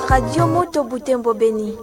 Radio Moto Butembo Beni.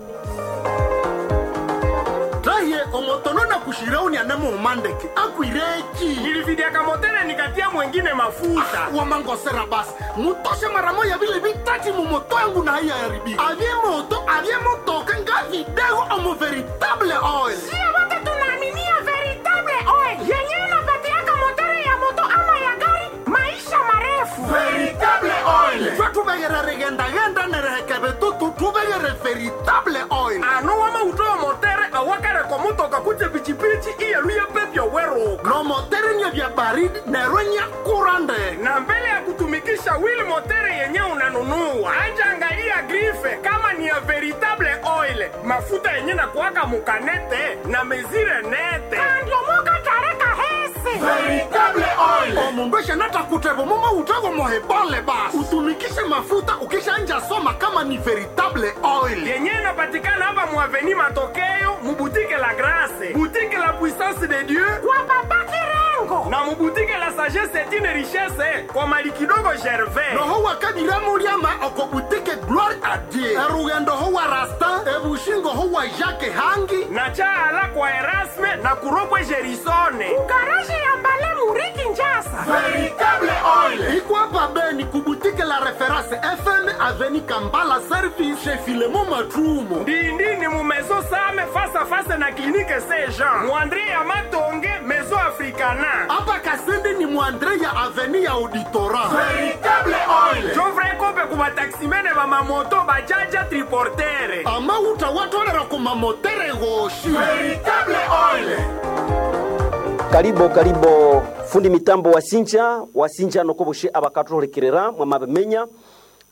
Raye omotono na kushirauni anemuumandeke akwireki Nilividiaka motele nikatia mwengine mafuta. Wamangosera basi, mutoshe mara moya vile vitati mumoto yangu na haiya yaribika. Avye moto avye motoka nga vidego omo veritable oil. Sio wote tunaaminia veritable oil yenyewe inapatiaka motori ya moto ama ya gari maisha marefu. Veritable oil, twe tuvegere rigendagenda nerehekeve tutu tuvegere veritable oil. Ano wamautowa motere awakareko motoka kutse pichipichi iyeluye pepyo weruka. No motere nye vya baridi nerwe nya kurande. Na mbele ya kutumikisha wheel motere yenye unanunua, anja angalia grife kama ni ya veritable oil, mafuta yenye na kuwaka mukanete na mezire nete. Andiomoka tareka hese Veritable oil, omundu eshanatakutevo mumo utego mohebole basi utumikishe mafuta ukishanja soma kama ni veritable oil. Yenye inapatikana hapa muaveni Matokeo, mubutike la Grace, butike la Puissance de Dieu kwa baba Kirengo na mubutike la Sagesse etine Richesse kwa mali kidogo Gervais. Noho wakadiramuriama okobutike Gloire a Dieu, erugendo ho wa Rastin, ebushingo ho wa Jacques Hangi na chaala kwa Erasme na kuropwe Gerisone. Garaji ya Mbale Muriki Njasa. Veritable oil ikwapa Beni kubutike la Reference FM, aveni Kambala Service chez Filemo Matrumo. Ndindini mu maison Same face à face na clinique Saint Jean. Muandre ya Matonge maison Africana. Hapa Kasindi ni mwandre ya aveni ya Auditora. Veritable oil Jovre kope ku bataximene ba mamoto bajaja triportere. Amauta watolera kumamotere goshi. Veritable oil. Karibo karibo fundi mitambo wasinja wasinja nokoboshe abakathuhulikirira mwamabimenya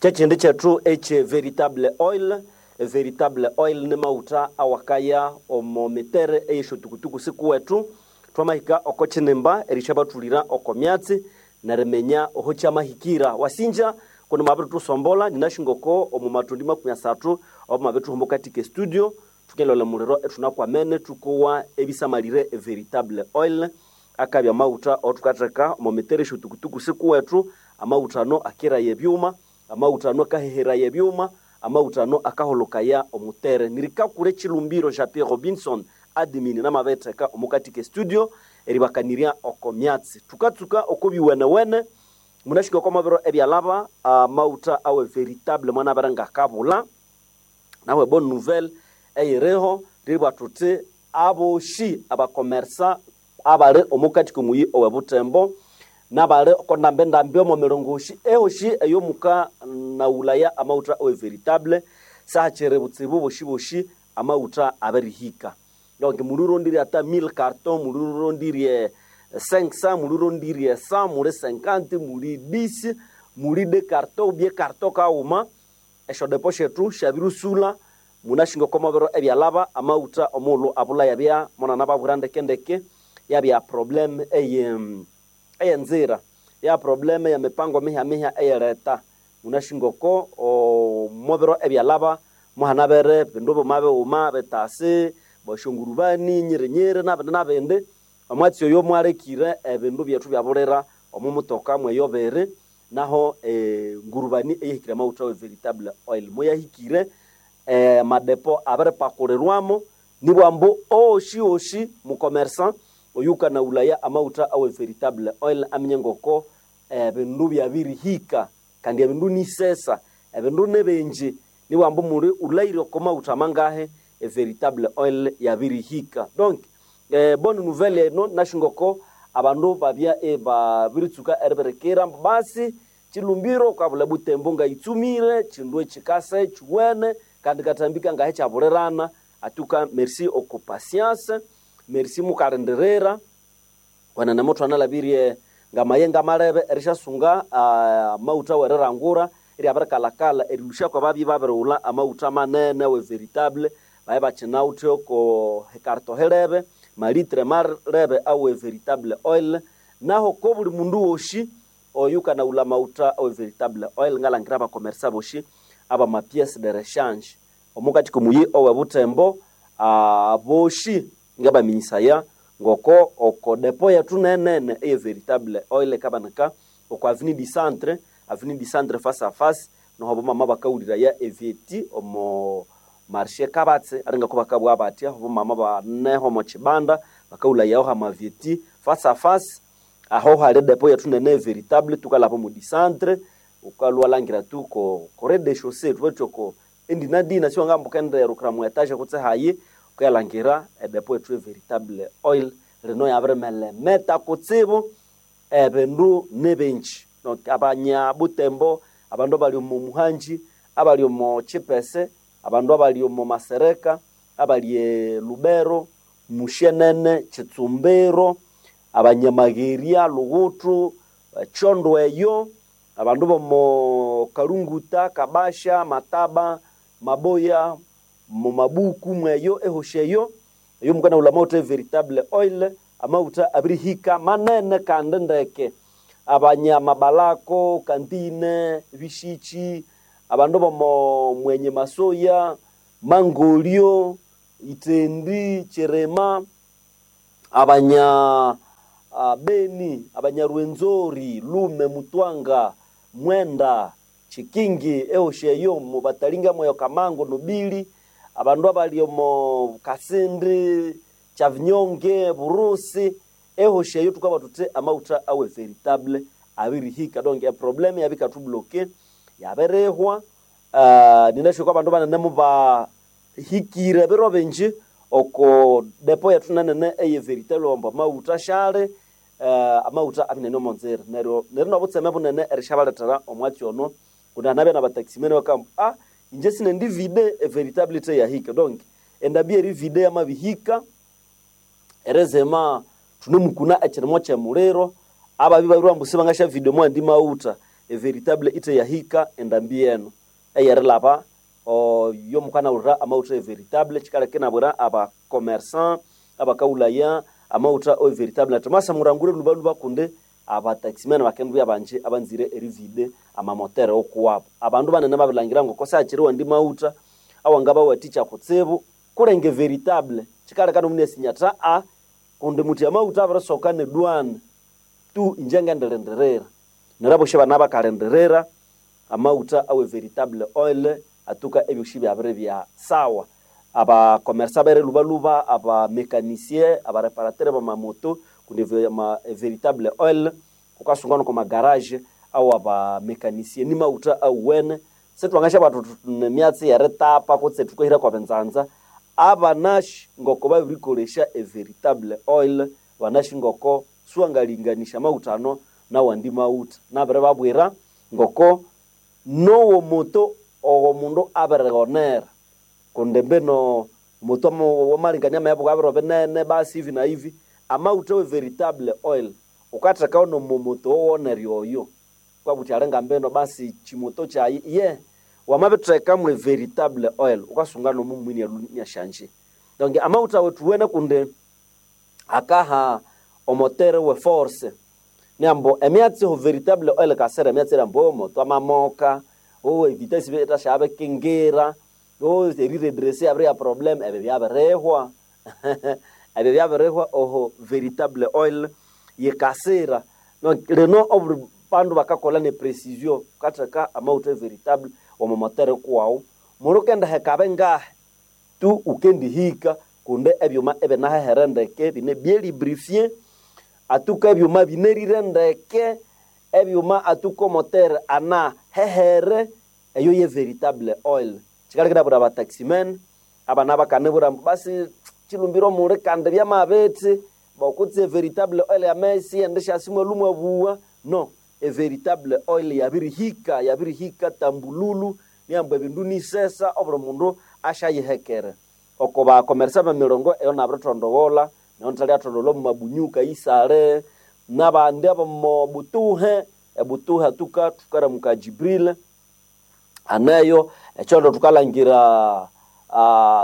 kyekindi kyethu ekye veritable oil. Veritable oil ni mauta awakaya omo mitere eyesyotukutuku sikuwethu. Twamahika oko kinimba erisyabathulira oko myatsi neriminya oho kyamahikira wasinja kundi mwabirithusombola ninashingoko omu matundi 30 obo mwabithuhuma katika studio thukelole muliro ethunakwamene thukowa ebisamalire veritable oil akabya amawutha othukatheka omo mitere esyotukutuku sikuwethu. Amawutha ano akiraya ebyuma, amawutha ano akaheheraya ebyuma, amawutha ano akaholokaya omutere. Nirikakura ekilumbiro ja Pierre Robinson admin namabetheka omukatika studio eribakanirya oko myatsi thukatsuka oko biwenewene. Munashika oko mabiro ebyalaba amawutha awe veritable mwanabere ngakabula nawe bonne nouvelle eyiriho ribwa thuthi aboshi abakomersa abali omukati komuyi owe Butembo nabali oko ndambi omo mirongoshi ehoshi eyomuka naulaya amawutha owe veritable sahachiri butsibu boshi boshi amawutha abirihika. Donc mulurondire ata 1000 carton, mulurondire 500, mulurondire 100, muli 50, muli 10, muli 2 carton ubye carton kauma esyodepo syethu syabirusula. Munashinga oko mabiro ebyalaba amawutha omughulhu abula yabya monana babwira ndekendeke yabya problem eye eyenzira ya problem ya mipango mihya eyereta. Munashinga oko omubiro ebyalaba muhanabere bindu buma bighuma bitasi boshongurubani nyirinyiri nabindi nabindi omwatsi oyo mwalekire ebindu byethu byabulira omu mutoka mweyobere naho ngurubani eyihikire amawutha we veritable oil moyahikire madepo abiripakulirwamo nibwambu oshi oshi mukomersa oyukanaulaya amawutha awe veritable oil aminye ngoko ebindu byabirihika kandi ebindu nisesa ebindu nibingi nibwambu muli ulaire oko mawutha mangahe e veritable oil yabirihika. Donc bonne nouvelle eno nashingoko abandu babya babiritsuka eribirikira basi chilumbiro kwabula Butembo ngayitsumire chindu ekikase chiwene kandi katambika ngahe kyabulirana atuka. Merci oko patience, merci mukalindirira kwenene muthu analabirie ngamayenga malebe erishasunga amawutha werirangura eryabirikalakala erilusha kwababyi babirighulha amawutha manene we veritable baye bakinawuthe oko hekarto helebe malitre malebe awe veritable oil. Naho ko buli mundu woshi oyukanaghulha amawutha awe veritable oil ngalangira abakomersa boshi aba ma pièce de rechange omukati komuyi owe Butembo aboshi ngabaminyisaya ngoko oko depo yetu nenene eye veritable oil kabanaka oko avenue du Centre, avenue du Centre face à face. Noho mama bakawulira ya evieti omo marshe kabatse aringako bakabwa batya obo mama baneho omo kibanda bakawula yaho hamavieti face à face. Aho hali depo yetu nene veritable, tukalapa mu dicentre ukalwa langira tu ko rez de chaussée tuwetoko endinadina siwangamba ukaenderukira mu etage kutse hayi ukalangira edepo yetu veritable oil rino yabiremelemeta kutsibu ebindu nibingi. Donc abanya Butembo, abandu abali omu Muhanji, abali omu Chipese, abandu abali omu Masereka, abali e Lubero, Mushenene, Chitsumbiro, abanyamageria, Lugutu, Chondo eyo, abandu bomo Kalunguta, Kabasha, Mataba, Maboya, mu Mabuku mweyo ehosheyo eyo mukana ula mauta veritable oil amauta abirihika manene kandi ndeke. Abanyamabalako kantine bishichi, abandu bomo mwenye masoya, mangolio, itendi, cherema, abanya Beni, abanyarwenzori, Lume, Mutwanga, Mwenda, Chikingi, ehosheyo mubatalinga mweyo Kamango, Nobili, abandu abali omo Kasindi, Chavinyonge, Burusi, ehosheyo tukaba tute amauta awe veritable abirihika. Donc e problème yabikatubloke yaberehwa. Ninasho kwa bandu banene mubahikire biro bingi oko depo yetu nanene eye veritable wamba amauta shale, amauta abinene omonzera neryo neryo nobutseme bunene erishabaletera omwatsi ono kundi nabya nabataximene bakamba ah inje sinendi vide e veritable te yahika. Donc endabia eri vide yamabihika erezema tunemukuna ekirimo kyemuliro ababi babiri mbusi bangasha video mwandi mauta e veritable ite yahika endambi eno eyerilaba yo mukana urira amauta e veritable chikaleke nabwira aba commerçant abakaulaya amauta o veritable atimasa murangure lubaluba kunde abataximene bakendu banje abanzire erivide amamotere okuwabo abandu banene babilangira ngo kosa achiriwa ndi mauta awangaba waticha kutsibu kulenge veritable chikaleka nomune sinyata a kundi muti amauta abirisoka ne dwana tu inje ngendirindirira neraboshe bana bakalindirira amauta awe veritable oil atuka ebyoshi byabiri bya sawa. Abakomersa bere lubaluba, abamekanisie, abareparatere bamamoto kundi veritable oil ukasungana kwa magarage au abamekanisie ni mauta auwene setwangasha batu nemyatsi yeritapa kutse tukohira kwa benzanza abanashi ngoko babirikolesha e veritable oil banashi ngoko suangalinganisha mauta ano nawandi mauta nabere babwira ngoko nowo moto owo mundu abirighonera kundi mbino moto wamalingania mebu abiro binene basi hivi na hivi amauta we veritable oil ukatheka ono moto owonerya oyo kwabuthi alinga mbino basi chimoto kyayi ye wamabitheka mwe veritable oil ukasunga nomumwini alunyashanje. Donc amauta wetu wene kundi akaha omotere we force niambo emyatsi ho veritable oil kasera emyatsi rambo omoto amamoka o vitesse betashabe kingira o eriredresse abri ya problem ebe byabirehwa ebe byabirehwa oho veritable oil yekasira. Donc reno obuli bandu bakakola ne precision katheka amauta veritable omomotere kuwawu muru kenda hekabe ngahe tu ukendihika kunde ebyuma ebinahehere ndeke bine byelibrifie atuka ebyuma binerire ndeke ebyuma atuka omotere ana hehere eyo ye veritable oil chikalekera bura bataximen abana bakanibura basi chilumbiro muli kandi byamabiti bokutse veritable oil yamesi endishasi mwalumwa buwa no e veritable oil yabirihika yabirihika tambululu niamba ebindu nisesa obuli mundu ashayihekere oko bakomersa bemirongo eyo nabiritondowola neyo nthali omu mabunyuka isale nabandi abomo butuhe ebutuhe atuka tukaramuka Jibril aneyo ekyondo tukalangira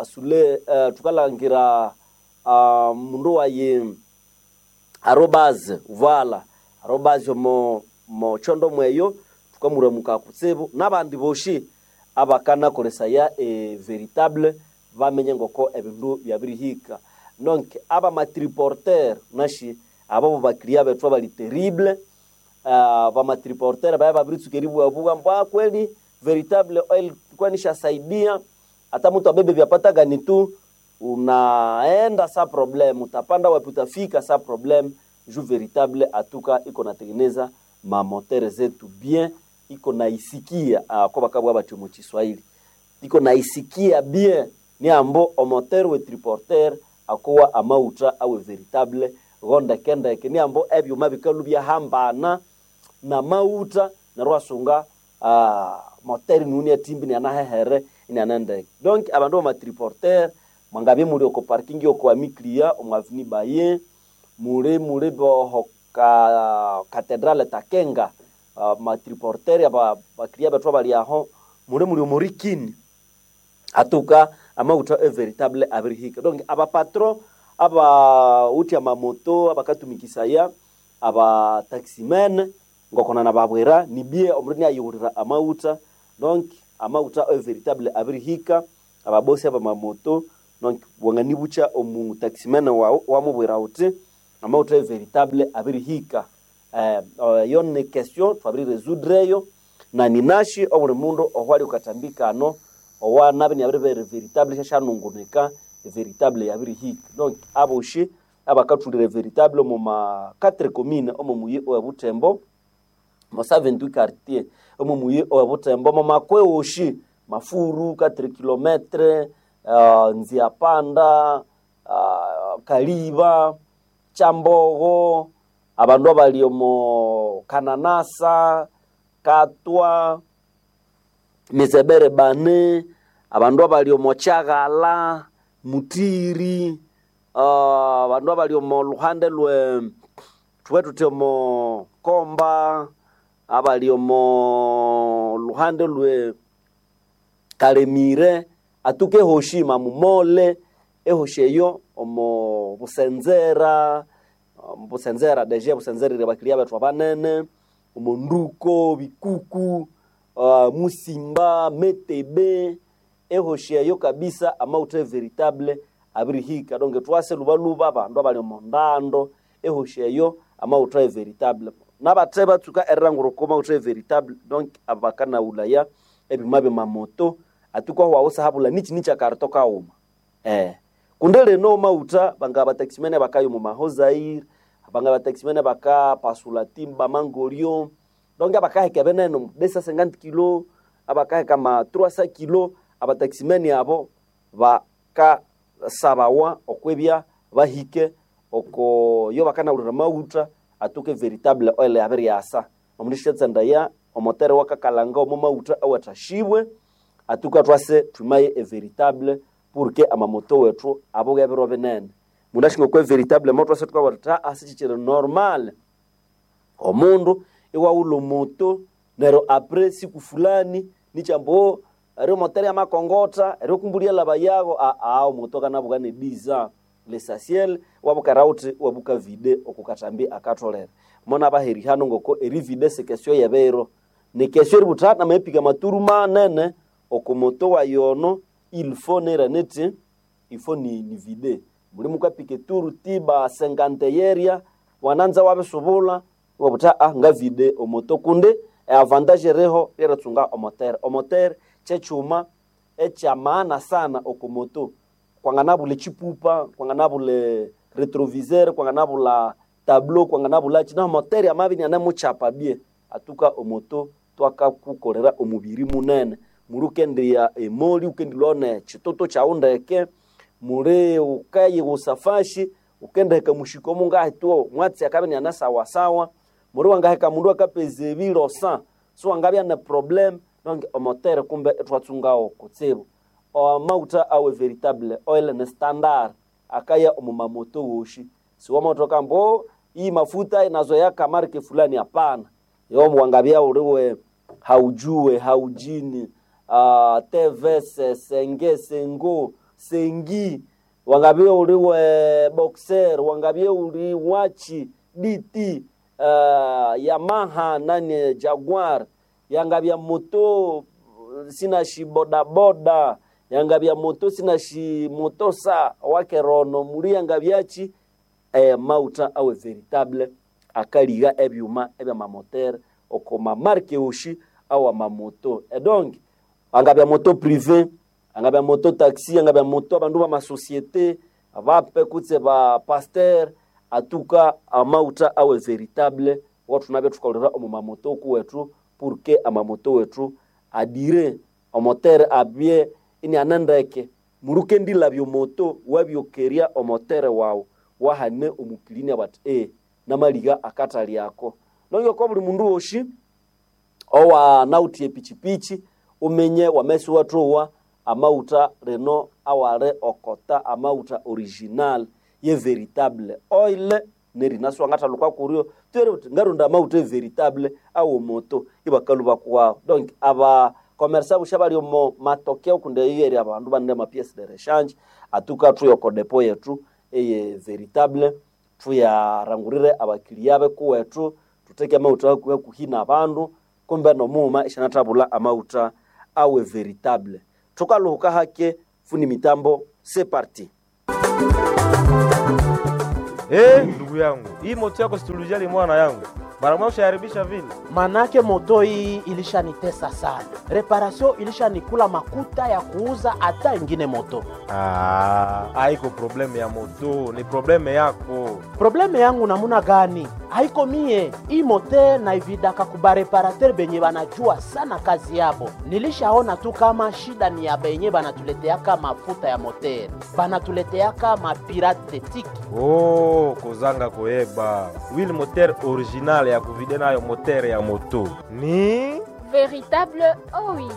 sule tukalangira mundu wayi arobaze vala arobaze mo chondo mweyo tukamuramuka kutsibu nabandi boshi abakanakolesaya e veritable bamenye ngoko ebindu byabirihika. Donc aba matriporter nashi abo bakriya bethu abali terrible, bamatriporter baya babiritsuka eribwabuwa mbwa kweli Veritable Oil kwanishasaidia hata mtu abebe vyapatagani tu unaenda sa problem, utapanda wapi utafika sa problem ju Veritable atuka iko natengeneza mamotere zetu bien, iko naisikia kwa bakabwa bati mu Kiswahili iko naisikia bien ni ambo omotere we triporter akowa amauta awe veritable gondekendeke ni ambo ebyuma bikalu byahambana na mauta neryo wasunga moteri nuni etimbi nianahehere inianendeke. Donc abandu bamatriporter mwangabye muli oko parking yoko amiklia omwavini baye muli muli boho ka katedrale takenga matriporter aba baklia bethu abali aho muli muli omorikini atuka amauta e veritable abirihika. Donc abapatron abauthi amamoto abakatumikisaya aba taximen ngokona nababwira nibie omundu niayighulira amauta. Donc amauta e veritable abirihika ababosi abamamoto. Donc wanganibucha omu taximen wamubwira uti amauta e veritable abirihika. Yo ni question twabiri résoudre na ninashi obuli mundu ohwali ukatambikano owa nabi niabiri veritable shashanungunika veritable yabirihika. Donc aboshi abakathulire veritable omu ma 4 commune omu muyi owe Butembo mo 78 quartier omu muyi owe Butembo mo makwe oshi Mafuru 4 kilometre Nziapanda Kaliba Chambogo abandu abali omo Kananasa Katwa Mizebere bane abandu abali omo Kyagala Mutiri abandu abali omo luhande lwe thube thuthi omo Komba abali omo luhande lwe Kalemire atuka ehoshi Mamumole ehoshi eyo omo Busenzera Busenzera deje Busenzera iri abakiria bethu abanene omo Nduko Bikuku Musimba Metebe ehoshi eyo kabisa amauta veritable abirihika. Donc twase lubaluba abandu abali omo ndando ehoshi eyo amauta veritable nabathe batsuka erilangura oko mauta veritable. Donc abakanaghulaya ebyuma byamamoto atuka hwawusahabula nichi nichi akarito kaghuma kundi lino mauta banga bataximene bakaya omu mahozaire banga bataximene bakapasula timba mangolyo. Donc abakaheka ebinene 250 kilo abakaheka ma 300 kilo abataximene abo bakasabawa okwibya bahike oko yo bakanahulira mauta atuke veritable oil yabiryasa omundu syatsandaya omotere wakakalanga omo mauta awathashibwe atuka twase thumaye e veritable pour que amamoto wethu abuke ebiro binene. Mundu ashinga okwa veritable moto twase thukabugha thuthi asichichiri normal omundu iwaghulha omoto neryo apres siku fulani nikyambu eri motere yamakongotha eri kumbulia laba yago omoto akanabuka ne 10 ans l'essentiel wabukera uthi wabuka vide okukatambi akatholere mona baheri hano ngoko eri vide sekesyo yebiro ni kesyo eributha namepika maturu manene okomoto wayono il faut nera neti il faut ni, ni vide muli mukapika eturu tiba 50 yeria wananza wabisubula wabutha nga vide omoto kundi avantage reho ryeritsunga omotere omotere kyekyuma ekyamaana sana okomoto kwanganabula echipupa kwanganabula retroviseur kwanganabula tableau kwanganabula chi naho motere amabya inianemukyapa bye atuka omoto twakakukolera omubiri munene muli ukendiya emoli ukendilwa chitoto kyawu ndeke muli ukayighusa fashi ukendiheka mushiko mungahituo mwatsi akabya inianasawasawa muli wangaheka mundu akapeza ebilosa siwangabya ne problem. Donc omotere kumbe ithwatsungawo kutsibu amauta awe veritable oil ne standard akaya omumamoto woshi siwamatoka mbo hii mafuta inazoea kamarke fulani hapana yo wangabya uliwe haujue haujini tvs senge sengo sengi wangabya uliwe boxer wangabya uli wachi dt yamaha nani jaguar yangabya moto sinashi bodaboda yangabya moto sinashi motosa wakerono muli yangabyachi mauta awe veritable akaliga ebyuma ebyamamotere okoma marke oshi awa mamoto. Edonk angabya moto privé, angabya moto taxi, angabya moto abandu b'amasosiete bape kutse ba pasteur, atuka amauta awe veritable wathunabya thukaghulira omu mamoto kuwethu, porque amamoto wethu adire omotere abye inianendeke murukendilabya omoto wabyokerya omotere wawu wahane omukilini bati namaliga akatali ako. Nonge kwa buli mundu woshi owanawuthe epichipichi umenye wamesi wathowa amauta rino awali okota amauta original ye veritable oil nerina siwangathaluka kuryo twere uthi ngaronda amauta veritable awomoto ibakalu bakuwawo. Donc aba commerçant busha bali omo matokeo kundi eyeri abandu banene ama pièce de rechange, atuka thuyoko depo yetu eye veritable, thuyarangurire abakiliya bekuwethu, thutheke amauta hakuhi nabandu kumbe nomughuma isyanathabulha amauta awe veritable. Thukalhuka hake fundi mitambo, c'est parti. Ndugu yangu, hii moto yako situlujali mwana yangu, mara moja ushaharibisha vile. Manake moto hii ilishanitesa sana, reparasio ilishanikula makuta ya kuuza hata ingine moto. Ah, haiko problemu ya moto, ni probleme yako. Probleme yangu namuna gani? Haiko mie hii mote naividaka kubareparater benye banajua sana kazi yabo. Nilishaona tu kama shida ni ya benye banatuleteaka mafuta ya moter, banatuleteaka mapirate tiki. Oh, kozanga koyeba wili moteur original ya kuvide nayo moteur ya moto ni Véritable oil.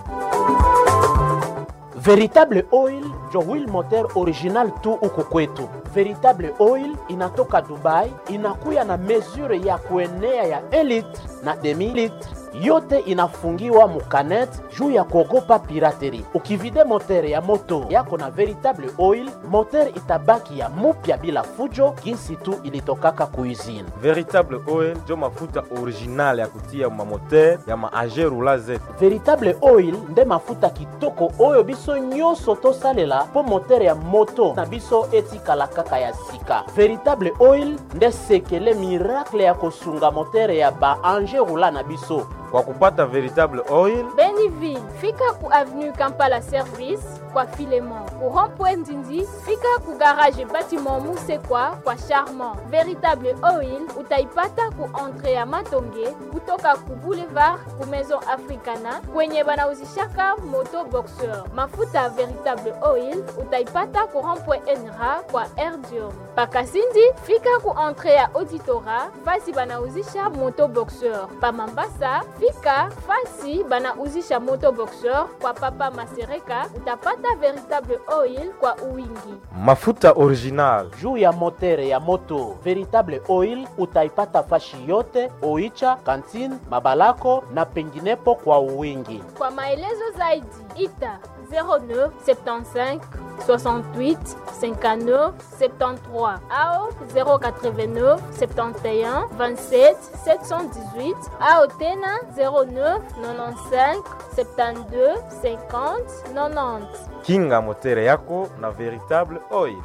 Veritable Oil jo wheel moteur original tu uko kwetu. Veritable Oil inatoka Dubai, inakuya na mesure ya kuenea ya 1 litre na demi litre, yote inafungiwa mukanet juu ya kuogopa pirateri. Ukivide moteur ya moto yako na Veritable Oil, moteur itabaki ya mupya bila fujo, jinsi tu ilitokaka kuizini. Veritable Oil jo mafuta original ya kutia ma moteur ya ma rula zetu. Veritable Oil nde mafuta kitoko oyo biso nyonso tosalela mpo motere ya moto na biso etikala kaka ya sika. Veritable Oil nde sekele miracle ya kosunga motere ya ba ange rula na biso. Kwa kupata Veritable Oil, Beniville, fika ku avenue Kampala Service kwa Filemon. Ku rond-point Ndindi, fika ku garage bâtiment Musekwa kwa Charmant. Véritable Oil utaipata ku entrée ya Matonge kutoka ku boulevard ku Maison Africana kwenye banauzishaka moto boxeur. Mafuta Véritable Oil utaipata ku rond-point Enra kwa Erdium. Pakasindi, fika ku entrée ya Auditora fasi banauzisha moto boxeur. Pa Mambasa, fika fasi banauzisha moto boxeur kwa Papa Masereka utapata Véritable Oil kwa uwingi. Mafuta original juu ya motere ya moto Veritable Oil utaipata fashi yote Oicha, Kantine, Mabalako na penginepo kwa uwingi. Kwa maelezo zaidi ita 09 75 68 59 73 ao 089 71 27 718 ao tena 09 95 72 50 90. Kinga motere yako na Veritable Oil.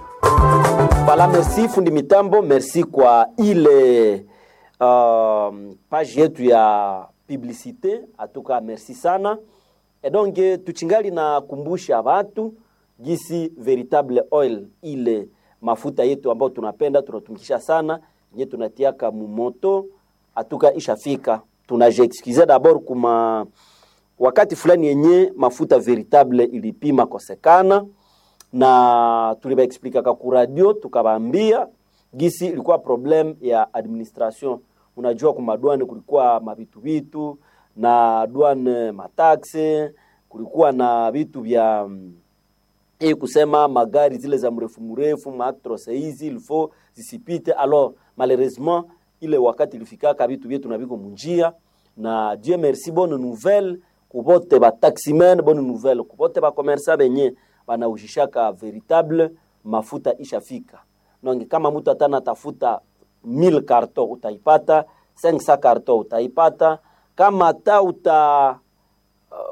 Voilà, merci fundi mitambo, merci kwa ile page yetu ya publicité. Atuka merci sana. Et donc tuchingali na kumbusha watu gisi Veritable Oil ile mafuta yetu ambayo tunapenda tunatumikisha sana yenye tunatiaka mumoto, atuka ishafika. Tunajiexcuse d'abord kuma wakati fulani yenye mafuta Veritable ilipima kosekana na tulibaexplikaka ku radio tukabaambia gisi ilikuwa problem ya administration. Unajua kumadwane kulikuwa mavitu vitu na douane mataxe, kulikuwa na vitu vya kusema magari zile za mrefu mrefu maactros hizi ilfo zisipite. Alors malheureusement ile wakati ilifikaka vitu vyetu na viko munjia, na Dieu merci, bonne nouvelle kubote ba taximen, bonne nouvelle kubote ba commerçant benye banaujishaka Veritable mafuta ishafika. Donc kama mtu atana tafuta 1000 carton utaipata, 500 carton utaipata, kama ta uta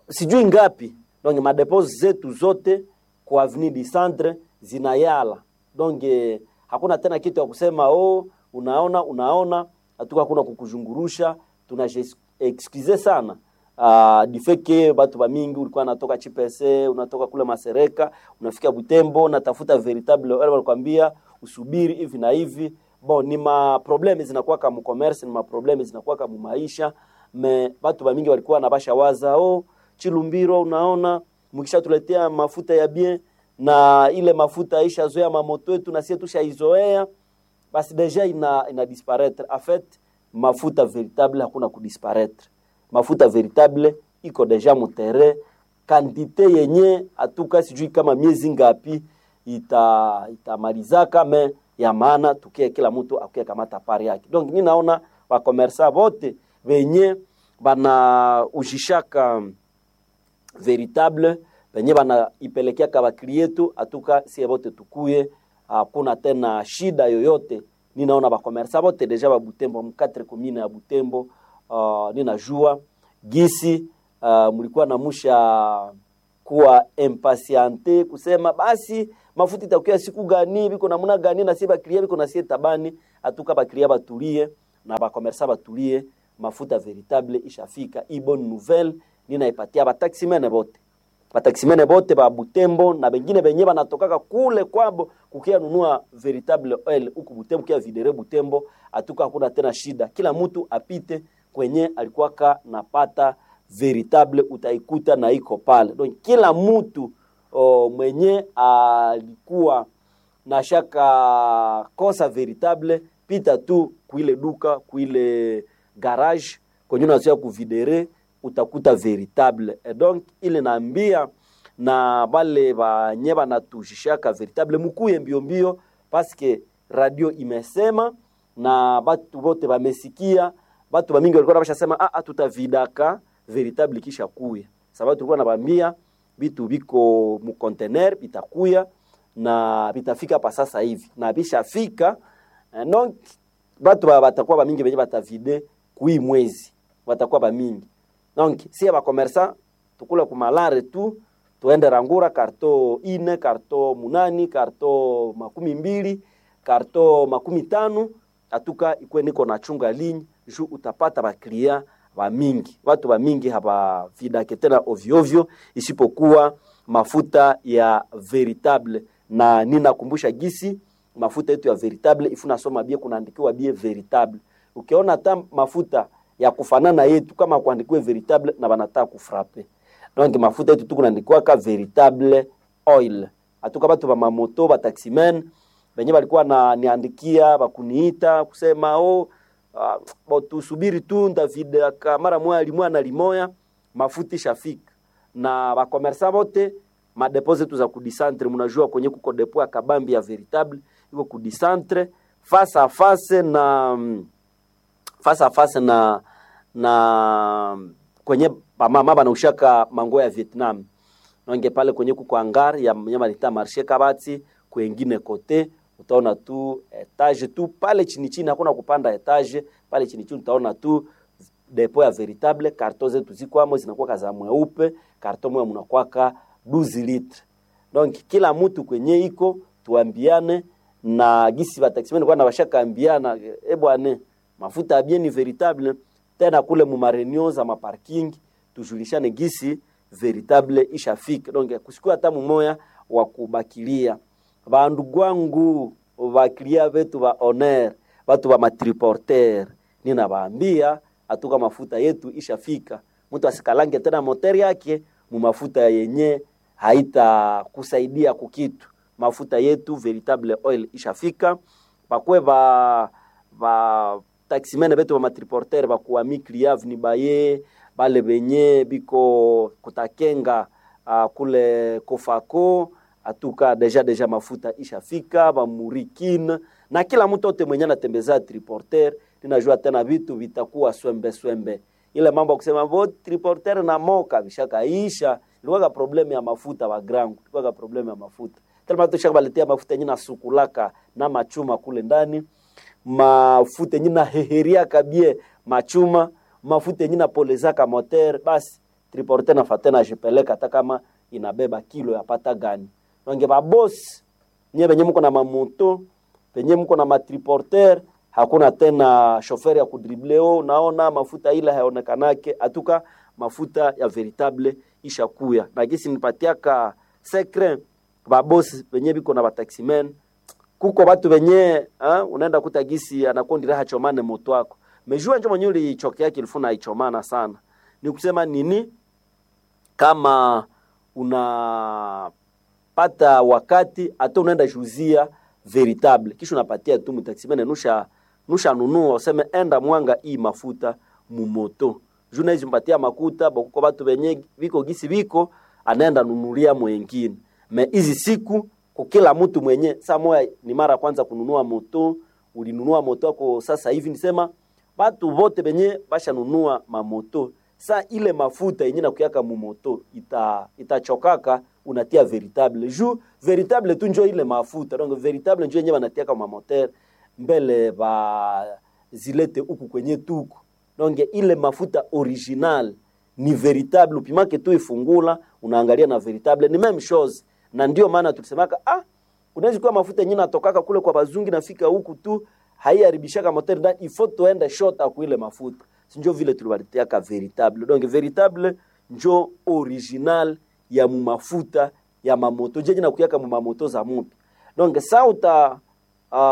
sijui ngapi. Donc madepo zetu zote kwa avenue du centre zinayala. Donc hakuna tena kitu ya kusema oh, unaona hatuka hakuna kukuzungurusha. Tuna excuse sana. Difeke batu bamingi ulikuwa natoka Chipese, unatoka kule Masereka, unafika Butembo, unatafuta veritable oil, walikwambia usubiri hivi na hivi. Bon, ni ma probleme zinakuwa kama commerce, ni ma probleme zinakuwa kama maisha. Me batu bamingi walikuwa na basha waza, oh, Chilumbiro unaona mkishatuletea mafuta ya bien na ile mafuta ishazoea mamoto yetu na sie tushaizoea, basi deja ina disparaître. En fait, mafuta veritable hakuna kudisparaître. Mafuta veritable iko deja mutere kantite yenye atuka sijui kama miezi ngapi itamalizaka me ya maana tukie kila mtu akuye kamata pari yake. Donc mi naona bakomersa bote benye bana ujishaka veritable benye bana ipelekeaka baklietu atuka sie bote tukuye, hakuna tena shida yoyote. Ninaona bakomersa bote deja ba Butembo mu 4 commune ya Butembo. Ninajua gisi mlikuwa namusha kuwa impatiente kusema basi mafuta itakuwa siku gani biko namuna gani na sie baklia biko na sie tabani atuka baklia batulie na bakomersa batulie, mafuta veritable ishafika. I bonne nouvelle ninaipatia bataximene bote, bataximene bote ba Butembo na bengine benye banatokaka kule kwabo kukia nunua veritable oil huku Butembo, kia videre Butembo, atuka hakuna tena shida, kila mtu apite kwenye alikuwaka napata veritable, utaikuta na iko pale. Donc kila mtu mwenye alikuwa na shaka kosa veritable, pita tu kuile duka kuile garage kwenye unazoea kuvidere utakuta veritable. Et donc ile naambia na bale banye banatujishaka veritable mukuye mbio mbio, paske radio imesema na batu bote bamesikia. Batu bamingi walikuwa bashasema ah, tutavidaka veritable kisha kuya, sababu tulikuwa nabambia bitu biko mu container bitakuya na bitafika pa sasa hivi na bishafika. Donc batu batakuwa bamingi benye batavide kui mwezi batakuwa bamingi. Donc si ba commerçant tukula kumalare tu tuende rangura karto ine karto munani karto 20 karto 50 atuka ikwe niko na chunga ligne ju utapata baklia ba mingi, watu ba mingi haba vidake tena ovyo ovyo, isipokuwa mafuta ya veritable. Na ninakumbusha gisi mafuta yetu ya veritable ifuna soma bie kunaandikiwa bie veritable. Ukiona hata mafuta ya kufanana yetu kama kuandikiwa veritable na banataka kufrape. Donc mafuta yetu tu kunaandikiwa ka veritable oil. Atuka batu ba mamoto ba taximen benye balikuwa na niandikia bakuniita kusema oh, bo tusubiri tu ndavidaka mara moya limoya na limoya mafuta ishafika. Na bakomersa bote madepo zetu za kudisantre, mnajua kwenye kuko depo ya kabambi ya veritable iko kudisantre face à face na face à face na kwenye bamama banaushaka mango ya Vietnam nonge pale kwenye kuko hangar ya nyama lita marché Kabati kwengine kote utaona tu etage tu pale chini chini, hakuna kupanda etage pale chini chini, utaona tu depo ya veritable. Karto zetu zikwamo zinakuwa kaza mweupe, karto moja mnakwaka 12 litre. Donc kila mtu kwenye iko tuambiane na gisi bataximene kwa na bashaka ambiana, e bwana, mafuta bien ni veritable tena kule mu mareunion za maparking tujulishane gisi veritable ishafika. Donc kusikua hata mumoya wa kubakilia bandu gwangu bakilia betu ba honneur batu ba matriporter, ninabaambia atuka mafuta yetu ishafika, mtu asikalange tena moteri yake mu mafuta yenye haitakusaidia kukitu. Mafuta yetu veritable oil ishafika, bakwe ba taximene betu ba matriporter bakuwa mikliave ni baye bale benye biko kutakenga kule kofako atuka deja mafuta ishafika bamurikine na kila mtu ote mwenye anatembeza triporter, ninajua tena vitu vitakuwa swembe swembe. Ile mambo ya kusema bo triporter na moka vishakaisha, ilikuwa problem ya mafuta wa grangu, ilikuwa problem ya mafuta tena tushaka baletea mafuta yenye nasukulaka na machuma kule ndani, mafuta yenye naheheria kabie machuma, mafuta yenye napolezaka moteur, basi triporter na fatena jipeleka hata kama inabeba kilo ya pata gani. Nonge ba boss nye benye mko na mamoto benye mko na matriporter, hakuna tena chauffeur ya kudrible. Naona mafuta ile haonekanake. Atuka Mafuta ya veritable ishakuya na gisi nipatiaka secret babosi benye biko na bataximen, kuko batu benye unaenda kuta gisi anakondira hachomane moto wako mejua njo mwenye ulichokea kilifuna ichomana sana. Ni kusema nini? Kama unapata wakati hata unaenda juzia veritable, kisha unapatia tu mtaximene nusha nunua, useme enda mwanga hii mafuta mumoto juu naizi mpatia makuta bokuko batu benye biko gisi biko anaenda nunulia mwengine. Me hizi siku kukila mtu mwenye saa moya ni mara kwanza kununua moto, ulinunua moto wako sasa hivi, nisema batu bote benye bashanunua mamoto sa ile mafuta yenye nakuyaka mumoto itachokaka, unatia veritable ju veritable tu njo ile mafuta donc veritable njo yenye banatiaka mamoteur mbele ba zilete huku kwenye tuku. Donc ile mafuta original ni veritable, upimake tu ifungula unaangalia na veritable ni même chose, na ndio maana tulisemaka unaweza kuwa mafuta yenye natokaka kule kwa bazungi nafika huku tu haiharibishaka moteur ndani, il faut tuende shota ku ile mafuta, sinjo vile tulibalitiaka veritable. Donc veritable njo original ya mumafuta ya mamoto jeje na kuyaka mumamoto za mupi. Donc sa uta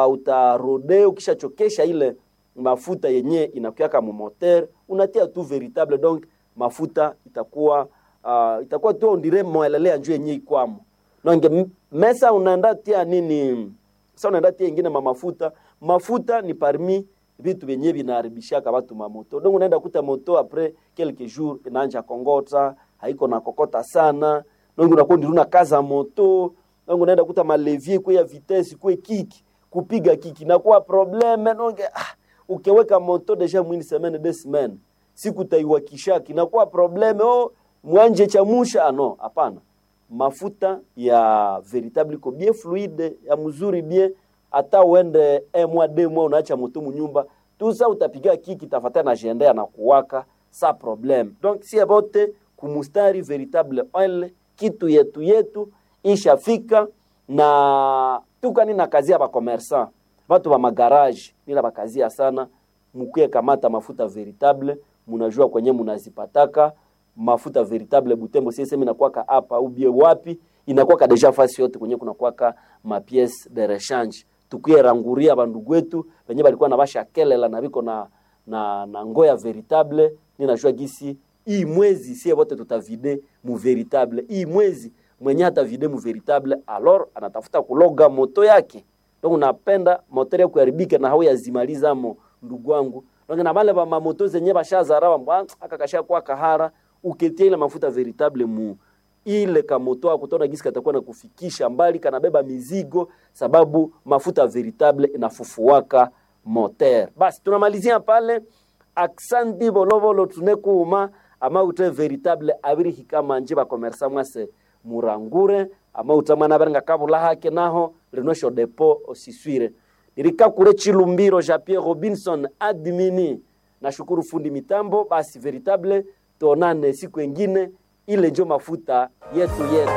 utarode ukishachokesha ile mafuta yenye inakuyaka mumoteur unatia tu veritable, donc mafuta itakuwa itakuwa tu ondire moelelea njo yenye ikwamo. Donc mesa unaenda tia nini? Sasa unaenda tia ingine mamafuta, mafuta ni parmi vitu vyenye vinaharibishaka watu mamoto. Donc unaenda kuta moto après quelques jours inaanja kongota, haiko na kokota sana. Donc unakuwa ndiruna kaza moto. Donc unaenda kuta malevier kwa ya vitesse kwa kiki, kupiga kiki na kuwa probleme. Donc ukiweka moto deja mwini semaine deux semaines, siku taiwakisha kinakuwa probleme, oh mwanje chamusha no, hapana. Mafuta ya veritable iko bien fluide ya mzuri bien, hata uende un mois deux mois unaacha moto munyumba tusa utapiga kiki tafuata na jendea na kuwaka sa probleme. Donc si abote kumustari veritable oil kitu yetu yetu ishafika na tukani na kazi ya ba commerçant batu ba magarage nila bakazia sana, mukuye kamata mafuta veritable, munajua kwenye munazipataka mafuta veritable Butembo sisemi inakuwaka hapa ubie wapi, inakuwaka deja fasi yote kwenye kunakuwaka ma pièce de rechange. Tukuye ranguria bandugu wetu wenye balikuwa na basha kelela na biko na ngoya veritable. Ninajua gisi hii mwezi sie wote tutavide mu veritable. Hii mwezi mwenye hata vide mu veritable, alors anatafuta kuloga moto yake. Donc unapenda moto yako kuharibika na hau yazimaliza mo ndugu wangu. Donc na bale ba mamoto zenye bashazarawa mbwa akakasha kwa kahara uketia ile mafuta veritable mu ile kamoto ako utaona gisi katakuwa na kufikisha mbali, kanabeba mizigo, sababu mafuta veritable inafufuaka moteur. Basi tunamalizia pale. Aksanti volovolo tunekuuma ama ute veritable abiri hikama nje ba commerçant mwase murangure ama utamwana berenga kabula hake naho rinosho depo osiswire nirikakure Chilumbiro Jean Pierre Robinson admini. Nashukuru fundi mitambo. Basi veritable, tuonane siku ingine, ile njo mafuta yetu yetu.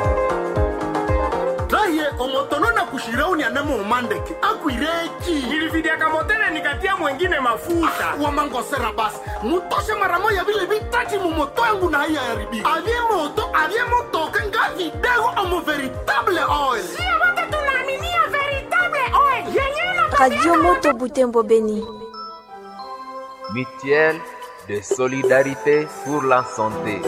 Raye omotono na kushirauni anemo umandeke akwireki. Nilividiaka motere nikatia mwengine mafuta. Wamangosera basi mutoshe mara moya vile vitati mumoto yangu na haiya yaribika avye moto avye motoka nga vidego omo veritable oil. Sio wote tunaaminia veritable oil yenye Radio Moto Butembo Beni. Mutuelle de solidarité pour la santé.